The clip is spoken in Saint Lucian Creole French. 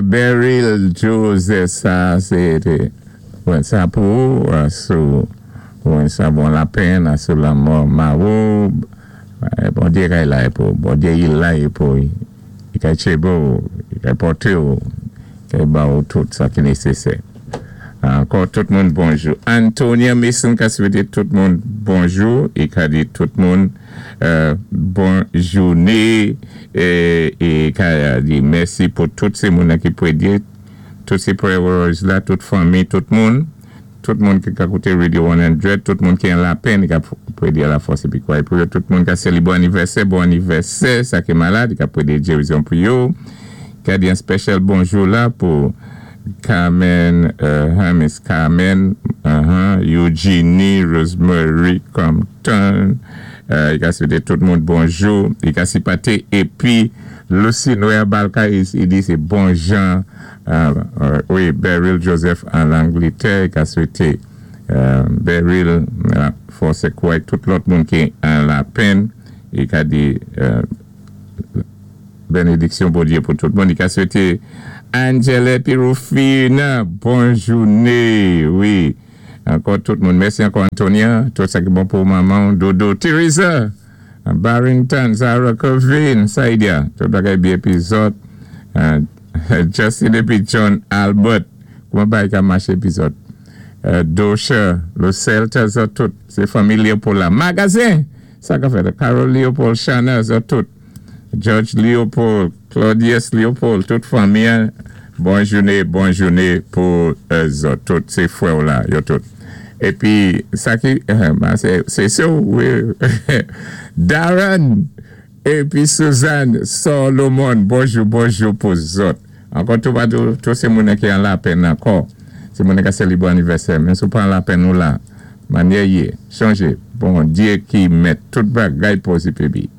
Beryl Joseph, sa sé sa pou ou, sou sa bon lapenn, sou lanmò mari ou, Bondyé kay la pou, Bondyé i la pou, i kay tjébo, i kay pòté ou, kay ba ou tout sa ki nésésè. Ankò tout moun bonjou. Antonia Mason ka swété tout moun bonjou é ka di tout moun bon jouné é ka di mèsi pou tout sé moun ki pwédyé, tout sé prayer warriors la, tout fanmi, tout moun ki ka kouté Radio 100, tout moun ki an lapenn, ki ka pwédyé lafòs épi kway pou yo, tout moun ka séli bon anivèsè, sa ki malad, ki ka pwédyé gérizon pou yo, ka di an special bonjou la pou Carmen, Miss Carmen, Eugenie, Rosemary Compton, i ka swété tout moun bonjou, i ka sipaté, épi Lucy Noya Balka, i di sé bon jan, wi, Beryl Joseph an Langlétè, i ka swété Beryl, fòs kway tout lòt moun ki an lapenn, i ka di bénédiksyon Bondyé pou tout moun. I ka swété Angela Pirofina, bon jouné, wi. Ankò tout moun. Mèsi ankò Antonia, tout sa ki bon pou manman, Dodo, Teresa, Barrington, Zara Covin, Saidia, tout bagay byen épi zòt, Justin épi John Albert, kouman bagay ka maché épi zòt, Dosha, Lo Celta, zòt tout, sé fanmi Léopold la. Magazen, sa ka fèt, Carol Léopold, Shana, zòt tout, George Léopold, Claudius Léopold, tout fanmi, bon jouné, bon jouné pou zòt tout, sé frè la, yo tout. Épi, sa ki, sé sa, wi, Darren, épi Suzanne Solomon, bonjou, bonjou pou zòt. Ankò tout, tout, tout sé moun ki an lapenn ankò. Sé moun ki séli bon anivèsè, men si ou pa an lapenn ou la, manyè yé, chanjé, Bondyé ki mèt tout bagay posib épi.